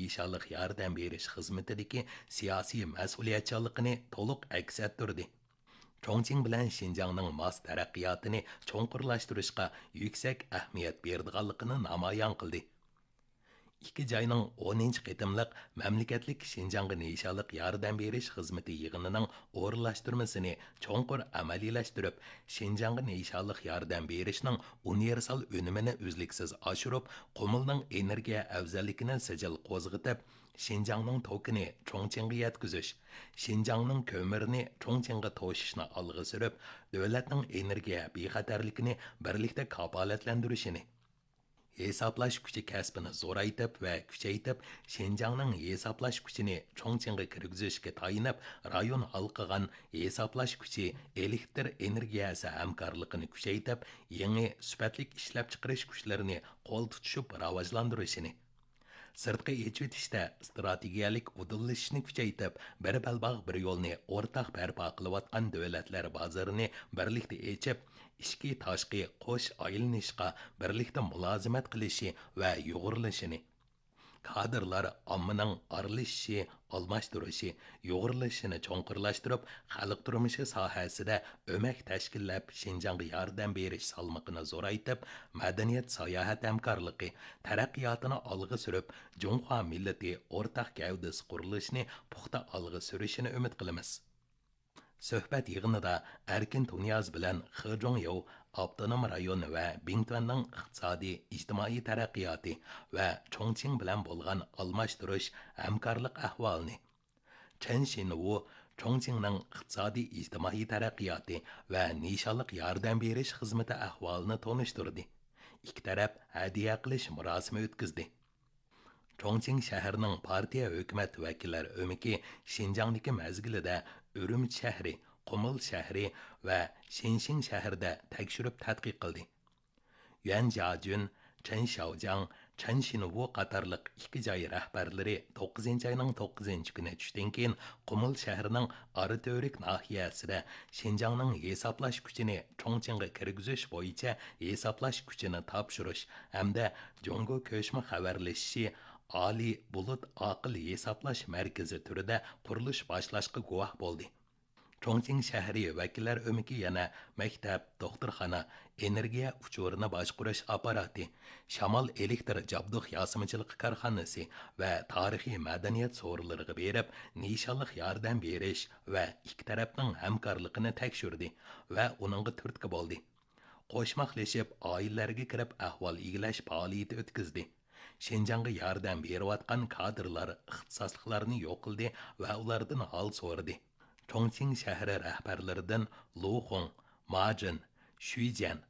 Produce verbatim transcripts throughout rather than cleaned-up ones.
نىشانلىق ياردەم بېرىش خىزمىتىدىكى سىياسىي مەسئۇلىيەتچانلىقىنى تولۇق ئەكس ئەتتۈردى. چۇڭچىڭ بىلەن شىنجاڭنىڭ ماس تەرەققىياتىنى چوڭقۇرلاشتۇرۇشقا يۈكسەك ئەھمىيەت بېرىدىغانلىقىنى نامايان قىلدى. ئىككى جاينىڭ ئونىنچى قېتىملىق مەملىكەتلىك شىنجاڭغا نىشانلىق ياردەم بېرىش خىزمىتى يىغىنىنىڭ ئورۇنلاشتۇرمىسىنى چوڭقۇر ئەمەلىيلەشتۈرۈپ، شىنجاڭغا نىشانلىق ياردەم بېرىشنىڭ ئۇنىۋېرسال ئۈنۈمىنى ئۈزلۈكسىز ئاشۇرۇپ، قۇمۇلنىڭ ئېنېرگىيە ئەۋزەللىكىنى سىجىل قوزغىتىپ، شىنجاڭنىڭ توكىنى چۇڭچىڭغا يەتكۈزۈش، شىنجاڭنىڭ كۆمۈرىنى چۇڭچىڭغا توشۇشنى ئالغا سۈرۈپ، دۆلەتنىڭ ئېنېرگىيە بىخەتەرلىكىنى بىرلىكتە كاپالەتلەندۈرۈشىنى، ھېسابلاش كۈچى كەسپىنى زورايتىپ ۋە كۈچەيتىپ، شىنجاڭنىڭ ھېسابلاش كۈچىنى چۇڭچىڭغا كىرگۈزۈشكە تايىنىپ، رايون ھالقىغان ھېسابلاش كۈچى ئېلېكتىر ئېنېرگىيەسى ھەمكارلىقىنى كۈچەيتىپ، يېڭى سۈپەتلىك ئىشلەپچىقىرىش كۈچلىرىنى قول تۇتۇشۇپ راۋاجلاندۇرۇشىنى، سىرتقا ئېچىۋېتىشتە ئىستراتېگىيەلىك ئۇدۇللىشىشنى كۈچەيتىپ، بىر بەلباغ، بىر يولنى ئورتاق بەرپا قىلىۋاتقان دۆلەتلەر بازىرىنى بىرلىكتە ئېچىپ، ئىچكى، تاشقى قوش ئايلىنىشقا بىرلىكتە مۇلازىمەت قىلىشى ۋە يۇغۇرۇلۇشىنى، كادىرلار ئاممىنىڭ ئارىلىشىشى، ئالماشتۇرۇشى، يۇغۇرۇلۇشىنى چوڭقۇرلاشتۇرۇپ، خەلق تۇرمۇشى ساھەسىدە ئۆمەك تەشكىللەپ، شىنجاڭغا ياردەم بېرىش سالمىقىنى زورايتىپ، مەدەنىيەت، ساياھەت ھەمكارلىقى تەرەققىياتىنى ئالغا سۈرۈپ، جۇڭخۇا مىللىتى ئورتاق گەۋدىسى قۇرۇلۇشىنى پۇختا ئالغا سۈرۈشىنى ئۈمىد قىلىمىز. سۆھبەت يىغىنىدا ئەركىن تۇنىياز بىلەن خې جۇڭياۋ ئاپتونوم رايون ۋە بىڭتۈەننىڭ ئىقتىسادىي، ئىجتىمائىي تەرەققىياتى ۋە چۇڭچىڭ بىلەن بولغان ئالماشتۇرۇش، ھەمكارلىق ئەھۋالىنى، چېن شىنۋۇ چۇڭچىڭنىڭ ئىقتىسادىي، ئىجتىمائىي تەرەققىياتى ۋە نىشانلىق ياردەم بېرىش خىزمىتى ئەھۋالىنى تونۇشتۇردى. ئىككى تەرەپ ھەدىيە قىلىش مۇراسىمى ئۆتكۈزدى. چۇڭچىڭ شەھىرىنىڭ پارتىيە ھۆكۈمەت ۋەكىللەر ئۆمىكى شىنجاڭدىكى مەزگىلىدە ئۈرۈمچى شەھىرى، قۇمۇل شەھىرى ۋە شىنشىڭ شەھىرىدە تەكشۈرۈپ تەتقىق قىلدى. يۈەن جياجۈن، چېن شياۋجياڭ، چېن شىنۋۇ قاتارلىق ئىككى جاي رەھبەرلىرى توققۇزىنچى ئاينىڭ توققۇزىنچى كۈنى چۈشتىن كېيىن قۇمۇل شەھىرىنىڭ ئاراتۈرۈك ناھىيەسىدە شىنجاڭنىڭ ھېسابلاش كۈچىنى چۇڭچىڭغا كىرگۈزۈش بويىچە ھېسابلاش كۈچىنى تاپشۇرۇش ھەمدە جۇڭگو كۆچمە خەۋەرلىشىشى ئالىي بۇلۇت ئاقىل ھېسابلاش مەركىزى تۈرىدە قۇرۇلۇش باشلاشقا گۇۋاھ بولدى. چۇڭچىڭ شەھىرى ۋەكىللەر ئۆمىكى يەنە مەكتەپ، دوختۇرخانا، ئېنېرگىيە ئۇچۇرىنى باشقۇرۇش ئاپپاراتى، شامال ئېلېكتر جابدۇق ياسىمىچىلىقى كارخانىسى ۋە تارىخىي مەدەنىيەت سورۇنلىرىغا بېرىپ، نىشانلىق ياردەم بېرىش ۋە ئىككى تەرەپنىڭ ھەمكارلىقىنى تەكشۈردى ۋە ئۇنىڭغا تۈرتكە بولدى. قوشماقلىشىپ، ئائىلىلەرگە كىرىپ ئەھۋال ئىگىلەش پائالىيىتى ئۆتكۈزدى. شىنجاڭغا ياردەم بېرىۋاتقان كادىرلار ئىختىساسلىقلارنى يوقلىدى ۋە ئۇلاردىن ھال سورىدى. چۇڭچىڭ شەھىرى رەھبەرلىرىدىن لۇ خۇڭ، ما جىن، شۈي جيەن،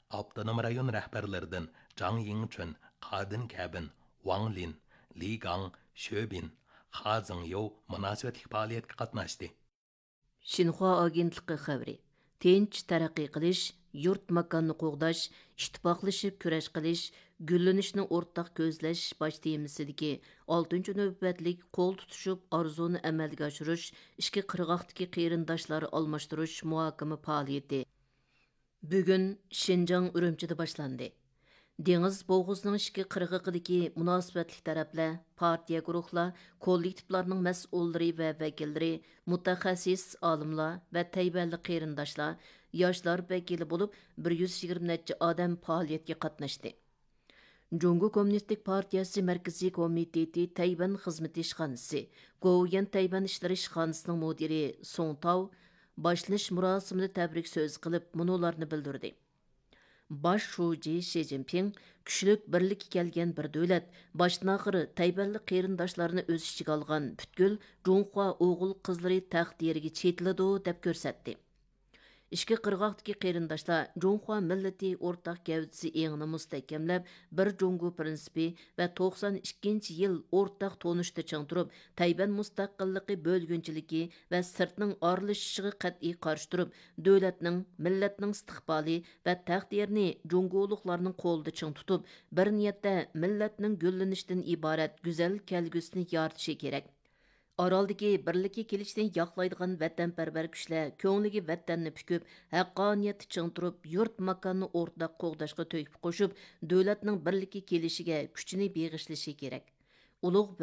ئاپتونوم رايون رەھبەرلىرىدىن جاڭ يىڭچۈن، قادىن كەبىن، ۋاڭ لىن، لى گاڭ، شۆ بىن، خا زېڭيوۋ مۇناسىۋەتلىك پائالىيەتكە قاتناشتى. شىنخۇا ئاگېنتلىقى خەۋىرى. تىنچ تەرەققىي قىلىش، يۇرت ماكاننى قوغداش، ئىتتىپاقلىشىپ كۈرەش قىلىش، گۈللىنىشنى ئورتاق كۆزلەش باش تېمىسىدىكى ئالتىنچى نۆۋەتلىك قول تۇتۇشۇپ ئارزۇنى ئەمەلگە ئاشۇرۇش، ئىككى قىرغاقتىكى قېرىنداشلار ئالماشتۇرۇش مۇھاكىمە پائالىيىتى بۈگۈن شىنجاڭ ئۈرۈمچىدە باشلاندى. دېڭىز بوغۇزىنىڭ ئىككى قىرغىقىدىكى مۇناسىۋەتلىك تەرەپلەر، پارتىيە گۇرۇھلار، كوللېكتىپلارنىڭ مەسئۇللىرى ۋە ۋەكىللىرى، مۇتەخەسسىس ئالىملار ۋە تەيۋەنلىك قېرىنداشلار، ياشلار ۋەكىلى بولۇپ، بىر يۈز يىگىرمە نەچچە ئادەم پائالىيەتكە قاتناشتى. جۇڭگو كوممۇنىستىك پارتىيەسى مەركىزىي كومىتېتى تەيۋەن خىزمىتى ئىشخانىسى، گوۋۇيۈەن تەيۋەن ئىشلىرى ئىشخانىسىنىڭ مۇدىرى سۇڭ تاۋ باشلىنىش مۇراسىمىدا تەبرىك سۆز قىلىپ، مۇنۇلارنى بىلدۈردى. باش شۇجى شى جىنپىڭ كۈچلۈك بىرلىككە كەلگەن بىر دۆلەت، باشتىن-ئاخىر تەيۋەنلىك قېرىنداشلارنى ئۆز ئىچىگە ئالغان پۈتكۈل جۇڭخۇا ئوغۇل-قىزلىرى تەقدىرىگە چېتىلىدۇ، دەپ كۆرسەتتى. ئىككى قىرغاقتىكى قېرىنداشلار جۇڭخۇا مىللىتى ئورتاق گەۋدىسى ئېڭىنى مۇستەھكەملەپ، بىر جۇڭگو پىرىنسىپى ۋە توقسان ئىككىنچى يىل ئورتاق تونۇشتا چىڭ تۇرۇپ، تەيۋەن مۇستەقىللىقى بۆلگۈنچىلىكى ۋە سىرتنىڭ ئارىلىشىشىغا قەتئىي قارشى تۇرۇپ، دۆلەتنىڭ، مىللەتنىڭ ئىستىقبالى ۋە تەقدىرىنى جۇڭگولۇقلارنىڭ قولىدا چىڭ تۇتۇپ، بىر نىيەتتە مىللەتنىڭ گۈللىنىشتىن ئىبارەت گۈزەل كەلگۈسىنى يارىتىشى كېرەك. ئارالدىكى بىرلىككە كېلىشنى ياقلايدىغان ۋەتەنپەرۋەر كۈچلەر كۆڭلىگە ۋەتەننى پۈكۈپ، ھەققانىيەتتە چىڭ تۇرۇپ، يۇرت ماكاننى ئورتاق قوغداشقا تۆھپە قوشۇپ، دۆلەتنىڭ بىرلىككە كېلىشىگە كۈچىنى بېغىشلىشى كېرەك. ئۇلۇغ